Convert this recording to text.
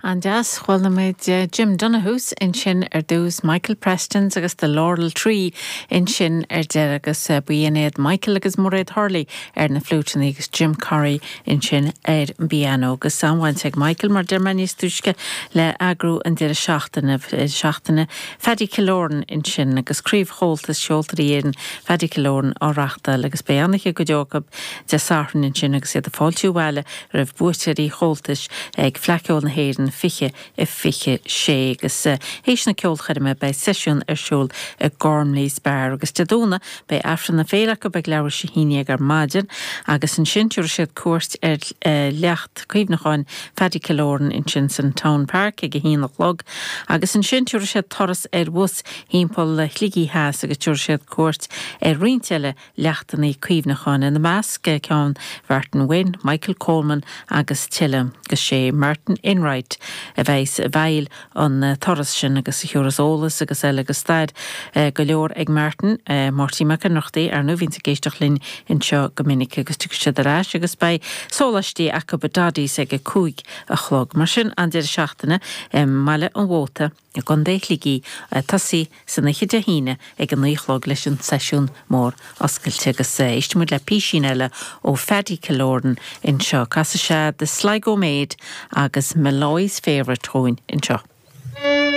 An-deas. Chuala muid Jim Donohues ansin ar dtús, Michael Prestons agus The Laurel Tree ansin ar deireadh agus b'in iad Michael agus Mairéad Hurley ar na fliúiteanna agus Jim Corry ansin ar an bpianó. Agus an-bhaint ag Michael, mar a deir mé níos túisce, le eagrú an deireadh seachtaine, seachtaine Phaddy Killoran ansin agus Craobh Chomhaltas Cheoltóirí Éireann Phaddy Killoran á reachtáil agus beidh an-oíche go deo acu Dé Sathairn ansin agus iad ag fáiltiú abhaile roimh buaiteoirí Chomhaltais ag Fleadh Cheoil na hÉireann 2026 agus théis na ceolchoirme beidh seisiún ar siúl i Gormley's Bar agus Dé Domhnaigh beidh Aifreann na Féile acu ag leathuair théis 11 ar maidin agus ansin tabharfaidh siad cuairt ar leacht cuimhneacháin Phaddy Killoran ansin san Town Park ag a haon a chlog agus ansin tabharfaidh siad turas ar bhus thimpeall Shligigh Theas agus tabharfaidh siad cuairt ar roinnt eile leachtanna cuimhneacháin, ina measc ceann Mhartin Wynne, Michael Coleman agus tuilleadh. Agus sé Martin Enright a bheas i bhfeighil an turas sin agus a thiúrfas eolas agus eile agus stair go leor ag Martin, Máirtín Mac Ionnrachtaigh, ar ndóigh, bhíonns ag éisteacht linn anseo go minic agus tiocfaidh siad ar ais agus beidh sóláistí acu i Doddy's ag a 5 a chlog. Mar sin, an deireadh seachtaine i mBaile an Mhóta. i gContae Shligigh ag tosaí san oíche Dé hAoine ag a 9 a chlog leis an seisiún mór oscailte agus éistfidh muid le písín eile ó Phaddy Killoran anseo. Casfaidh sé The Sligo Maid agus Molloy's Favourite dhúinn anseo.